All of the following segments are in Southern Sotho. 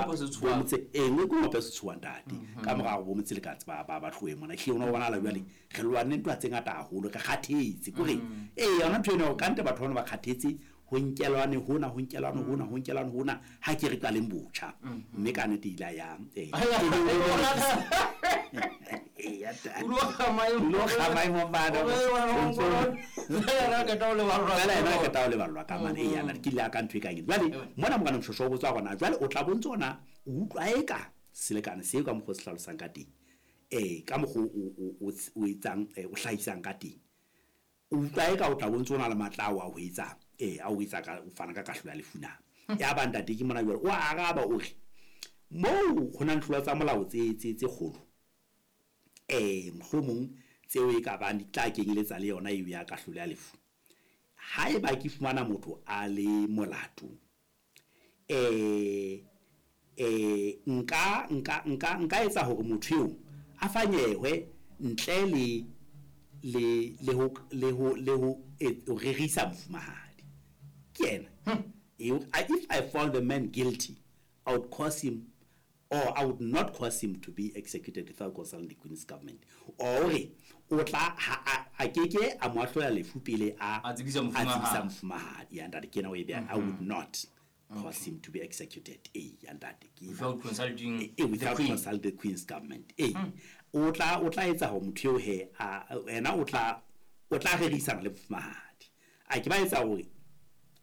Bomotse e nngwe ke ngope setshoha, ntate, ka mora hore bomotse le ba tlohe mona. Ehlile ona o bonahala jwale re lwanne ntwa tse ngata haholo, re kgathetse kore ee, yona ntho ena hore kante batho bana ba kgathetse ho nkelwane hona, ho nkelwane hona, ho nkelwane hona, ha ke re qaleng botjha. Mme ka nnete ile ya ee. O lo kga maemo. O lo kga maemo mane. Fela yena a qeta ho leballwa. Fela yena a qeta ho leballwa ka mane. Ee, yana ke ile ya ka ntho e kang eno. Jwale mona morena Moshweshwe o botsa hore na jwale o tla bontse ona o utlwa eka selekane seo ka mokgwa o se hlalosang ka teng, ka mokgwa o etsang, o hlahisang ka teng, o utlwa eka o tla bontse o na le matla ao a ho etsa, a o etsa ka o fana ka kahlolo ya lefu na? Ya ba ntate ke mona jwale o araba, o re moo ho na tlolo tsa molao tse kgolo, mohlomong tseo e ka bang di tla kenyeletsa le yona eo ya kahlolo ya lefu, haeba ke fumana motho a le molato, nka etsa hore motho eo a fanyehwe ntle le ho rerisa mofumahadi. Ke yena. If I found the man guilty, I would cause him or I would not cause him to be executed without consulting the Queen's government. Or o tla a keke a mo ahlola lefu pele a A tsebisa a mofumahadi. Tsebisa mofumahadi. Ya ntate, ke ena o e beha. I would not cause him to be executed. Eh, ya ntate, ke ena. Without consulting the Without queen. Consult the Queen's government. O tla etsa hore motho eo he a ena o tla rerisana le mofumahadi. A ke ba etsa hore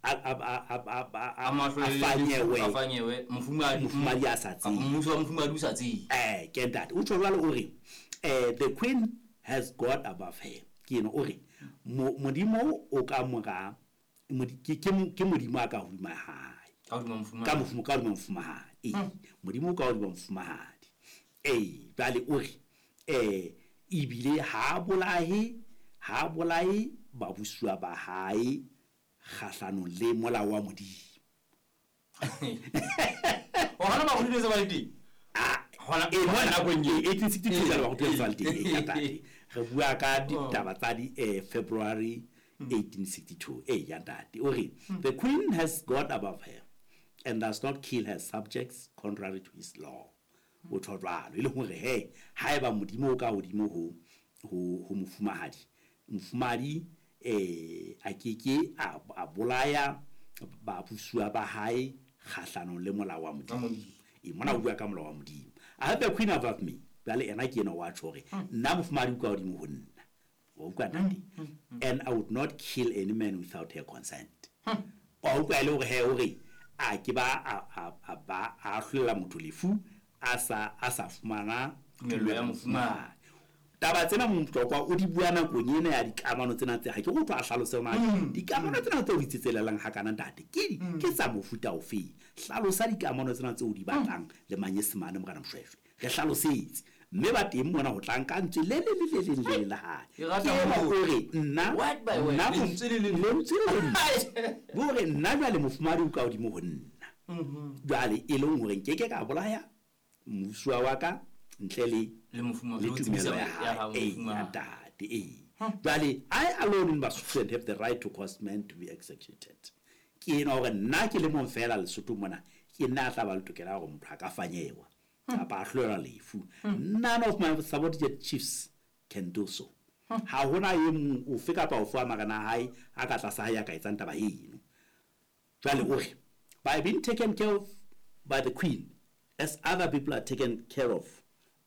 A a mo ahlolele fanyewe. A fanyewe mofumahadi. Mofumahadi a sa Kapa tsebe. mmuso wa mofumahadi o sa tsebe. Ke ntate o tjho jwalo, o re the Queen has God above her. Ke eno o re Modimo o ka mora ke Modimo a ka hodima hae. Ka hodima ka mofumahadi. Ka hodima mofumahadi, ee, Modimo o ka hodima mofumahadi. Ee, jwale o re ebile ha bolahe babusuwa ba hae kgahlanong le molao wa Modimo. Hona ba hodile se ba le teng. Ah, Hona eh, hona mona nakong eo. 1862 jwale ba kgutlela sa le teng. Eh, ya ntate, re bua ka ditaba tsa di February 1862. Eh, ya ntate, o re the Queen has God above her and does not kill her subjects contrary to his law. O tjho jwalo e le hore he haeba Modimo o ka hodimo ho mofumahadi, mofumahadi a keke a bolaya babusuwa ba hae kgahlanong le molao wa Modimo. Modimo. E mona o bua ka molao wa Modimo. I have the Queen above me. Jwale ena ke ena wa tjho hore nna mofumahadi o ka hodimo ho nna, wa utlwa ntate, and I would not kill any man without her consent. Wa utlwa e le hore he o re a ke ba a ba a ahlolela motho lefu a sa fumana Tumello ya mofumahadi. Taba tsena Motlokwa o di bua nakong ena ya dikamano tsena tse ha ke go tlo a hlalose hore na dikamano tsena tse o di tsetselelang hakana, ntate, ke tsa mofuta ofeng. Hlalosa dikamano tsena tse o di batlang le Manyesemane, morena Moshweshwe, re hlalosetse. Mme ba teng mona ho tlang ka ntswe le le le le leng le le la hae. Ke rata Ke ena moo. o re nna Word by word, nna lentswe le leng. Lentswe le leng bo re nna jwale mofumahadi o ka hodimo ho nna, jwale e leng hore nkeke ka bolaya mmusuwa wa ka ntle le Le mofumahadi, le le ho tsebisa tumelo ya ya hao hae. Ee, ya mofumahadi. ntate, ee. Jwale I alone in Basotho have the right to cause men to be executed. Ke ena hore nna ke le mong fela Lesotho mona ke nna a tla ba le tokelo ya hore motho a ka fanyewa kapa a hlolelwa lefu. None of my subordinate chiefs can do so. Ha hona e mong ofe kapa ofe wa marena a hae a ka tlasa hae a ka etsang taba eno. Jwale o re by being taken care of by the Queen as other people are taken care of,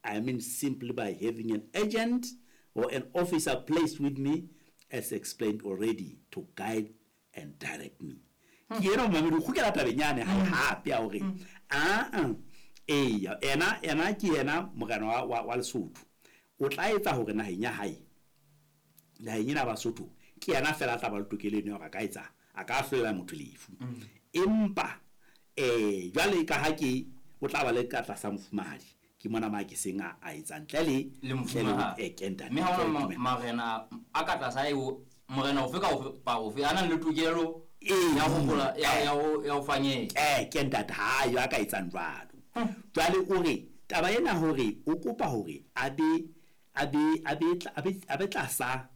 I mean simply by having an agent or an officer placed with me, as explained already, to guide and direct me. Ke ena momamedi o kgutlela tabeng yane hae hape ya hore aa eya, ena ke yena morena wa Lesotho, o tla etsa hore naheng ya hae, naheng ena ya Basotho, ke yena fela a tla ba le tokelo eno ya hore a ka etsa, a ka ahlolela motho lefu. Empa jwale ka ha ke o tla ba le ka tlasa mofumahadi, ke mona ma ke seng a etsa ntle le Le ntle le mofumahadi. Ke ntate, Mme ha ntle le hona tumelo. Marena a ka tlasa eo, morena ofe ka ofe pa ofe a nang le tokelo Ee. ya ho ya ho fanyeha. Ke ntate, ha yo a ka etsang jwalo. Jwale o re taba ena hore o kopa hore a be tlasa